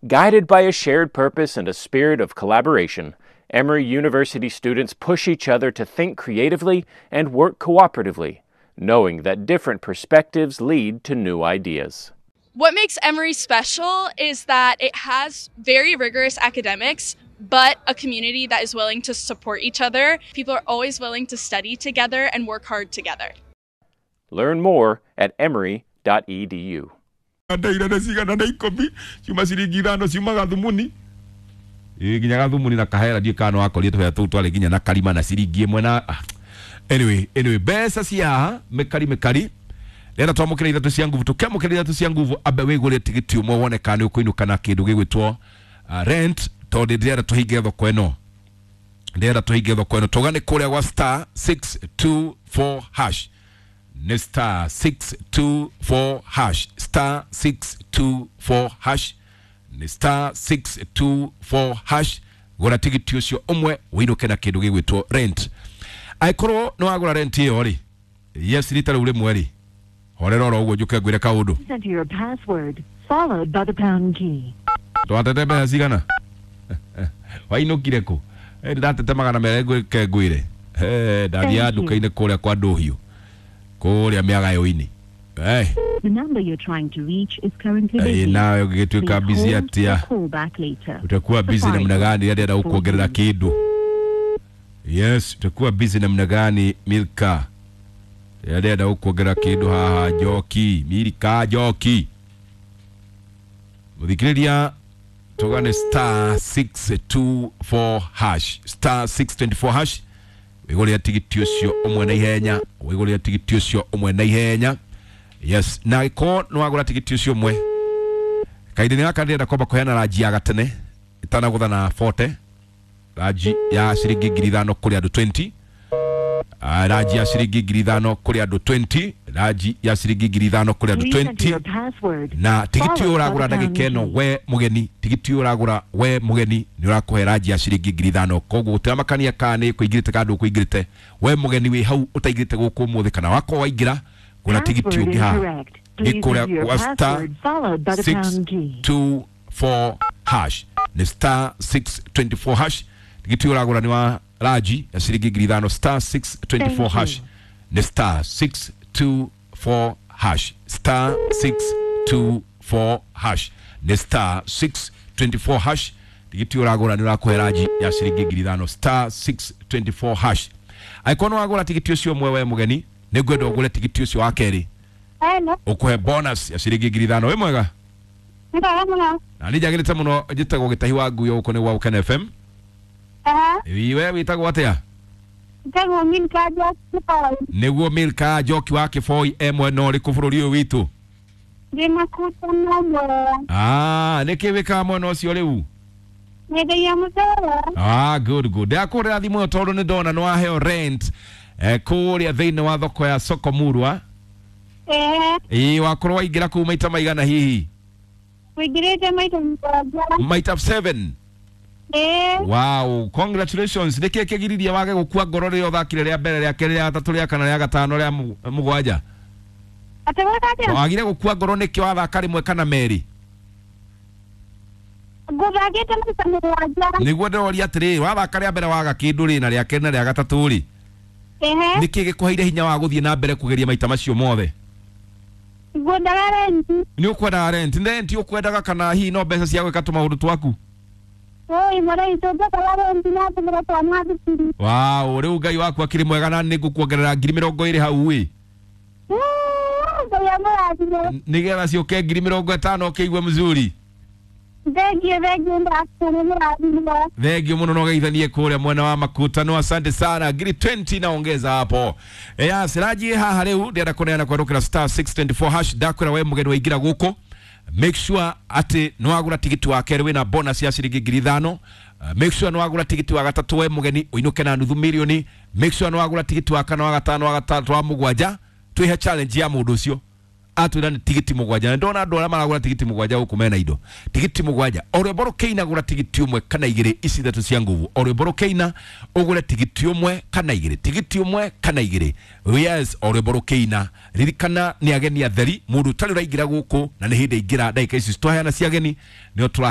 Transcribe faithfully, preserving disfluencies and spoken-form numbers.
Guided by a shared purpose and a spirit of collaboration, Emory University students push each other to think creatively and work cooperatively, knowing that different perspectives lead to new ideas. What makes Emory special is that it has very rigorous academics, but a community that is willing to support each other. People are always willing to study together and work hard together. Learn more at emory dot e d u. Ndaira na cigana na ikũmi ciuma ciringi ithano ciumaga thumuni ĩ nginya gathumuni na kahera ndiũ kana wakorire tũhera tũu twarĩ nginya na karima na ciringi ĩmwe na anyway anyway mbeca cia haha mĩkari mĩkari rĩera twamũkĩra ithatũ cia nguvu tũkĩamũkĩra ithatũ cia nguvu ambe wĩgũre tigiti ũmwe wone kana nĩ ũkũinũka na kĩndũ gĩgwĩtwo uh, rent tondũ ndĩrenda tũhinge thoko ĩno ndĩrenda tũhinge thoko ĩno tũgane kũrĩa gwa star six two four hash ni star six two four hash star six two four hash ni star six two four hash gũra tigiti ũcio ũmwe wĩinũke na kĩndũ gĩgwĩtwo rent angĩkorwo nĩ wagũra rent ĩyo rĩ yes rita rĩu rĩmwe rĩ horera oro ũguo njũke ngwĩre kaũndũ. Enter your password followed by the pound key. Twatete mbeca cigana wainũkire kũ? Eh, ndatete magana merĩ ngwĩke ngwĩre eh ndathiaga nduka-inĩ kũrĩa kwa Ndũhiũ kũrĩa mĩagayo-inĩ. Eh The number you're trying to reach is currently busy. Nawe ũgĩgĩtuĩka busy atĩa? Call back later. Utakuwa busy namna gani? Rĩrĩa ndĩrenda gũkuongerera kĩndũ. Yes, utakuwa busy namna gani Milka? Rĩrĩa ndĩrenda gũkuongerera kĩndũ haha Njoki, Milka Njoki. Mũthikĩrĩria tũgane star six two four hash star six twenty four hash wĩgũrĩre tigiti ũcio ũmwe na ihenya wĩgũrĩre tigiti ũcio ũmwe na ihenya. Yes, na ĩkorwo nĩ wagũra tigiti ũcio ũmwe kahinda-inĩ gaka ndĩrenda kwamba kũheana ranji ya gatene ĩtanagũtha na forty ranji ya ciringi ngiri ithano kũrĩ andũ twenty uh, ranji ya ciringi ngiri ithano kũrĩ andũ twenty ranji ya ciringi ngiri ithano kũrĩ andũ twenty na tigiti ũyũ ũragũra ndagĩka ĩno we mũgeni tigiti ũyũ ũragũra we mũgeni nĩ ũrakũhe ranji ya ciringi ngiri ithano koguo gũtiramakania kana nĩ kũingĩrĩte kana ndũkũingĩrĩte we mũgeni wĩ hau ũtaingĩrĩte gũkũ ũmũthĩ kana wakorwo waingĩra gũra tigiti ũngĩ haha nĩ kũrĩa gwa star six two four hash nĩ star six twenty four hash tigiti ũyũ ũragũra nĩ wa ranji ya ciringi ngiri ithano star six twenty four hash nĩ star six two four hash star six two four hash nĩ star six twenty four hash tigiti ũragũra nĩ ũrakũhe ranji ya ciringi ngiri ithano star six twenty four hash angĩkorwo nĩ wagũra tigiti ũcio ũmwe we mũgeni nĩ ngwenda ũgũre tigiti ũcio wa kerĩ ũkũhe bonus ya ciringi ngiri ithano. Wĩ mwega? Na nĩ njagĩrĩte mũno njĩtagwo Gĩtahi wa Nguyo gũkũ nĩ gwa Gũkena F M. We wĩtagwo atĩa? Njĩtagwo Milka Njoki Kĩboi. Nĩguo Milka Njoki wa Kĩboi e mwena ũrĩkũ bũrũri ũyũ witũ? Ndĩ Makuta na Mwea. Ah, nĩkĩ wĩkaga mwena ũcio rĩu? Nyendagia mũcere. Ah, good good. Ndakũhũrĩra thimũ ĩyo tondũ nĩ ndona nĩ waheo rent eh, kũrĩa thĩinĩ wa thoko ya Soko Murwa. Eh. Ĩĩ wakorwo waingĩra kũu maita maigana hihi? Wĩingĩrĩte maita mũgwanja. Maita seven. Eh. Wow, congratulations. Nĩkĩ kĩgiririe wage gũkua ngoro rĩrĩa ũthakire rĩa mbere rĩa kerĩ rĩa gatatũ rĩa kana rĩa gatano rĩa mũgwanja? Atĩ gwĩka atĩa? Wagire gũkua ngoro nĩkĩ wathaka rĩmwe kana merĩ? Ngũthakĩte maita mũgwanja. Nĩguo ndĩroria atĩrĩrĩ, wathaka rĩa mbere waga kĩndũ rĩ na rĩa kerĩ na rĩa gatatũ rĩ? Ehe. Nĩkĩ gĩkũheire hinya wa gũthiĩ na mbere kũgeria maita macio mothe? Ngwendaga renti. Nĩ ũkwendaga renti? Renti ũkwendaga kana hihi no mbeca cia gwĩka tũmaũndũ twaku? Oi, mũrei tũnjakaga renti na tũmĩra twana thukuru. Wow, rĩu Ngai waku akĩrĩ mwega na nĩ ngũkuongerera ngiri mĩrongo ĩrĩ hau ĩ. Ngai amũrathime. Nĩgetha ciũke ngiri mĩrongo ĩtano ũkĩigue mzuri. Thengiũ, thengiũ ndakũrĩ mũrathime. Thengiũ mũno na ũgeithanie kũrĩa mwena wa Makutano. Asante sana. Ngiri twenty naongeza hapo. Yes, ranji haha rĩu ndĩrenda kũneana kwerũkĩra star six twenty four hash ndakwĩra we mũgeni waingĩra gũkũ make sure atĩ nĩ wagũra tigiti wa kerĩ wĩna bonus ya ciringi ngiri ithano. Uh, make sure nĩ wagũra tigiti wa gatatũ we mũgeni ũinũke na nuthu milioni. Make sure nĩ wagũra tigiti wa kana wa gatano wa gatatũ wa mũgwanja twĩhe challenge ya mũndũ ũcio atwĩra nĩ tigiti mũgwanja na ndona andũ arĩa maragũra tigiti mũgwanja gũkũ mena indo tigiti mũgwanja o rwĩmbo rũkĩina gũra tigiti ũmwe kana igĩrĩ ici ithatũ cia nguvu o rwĩmbo rũkĩina ũgũre tigiti ũmwe kana igĩrĩ tigiti ũmwe kana igĩrĩ yes o rwĩmbo rũkĩina ririkana nĩ ageni atheri mũndũ ũtarĩ ũraingĩra gũkũ na nĩ hĩndĩ aingĩra ndagĩka ici twaheana cia ageni nĩo tũra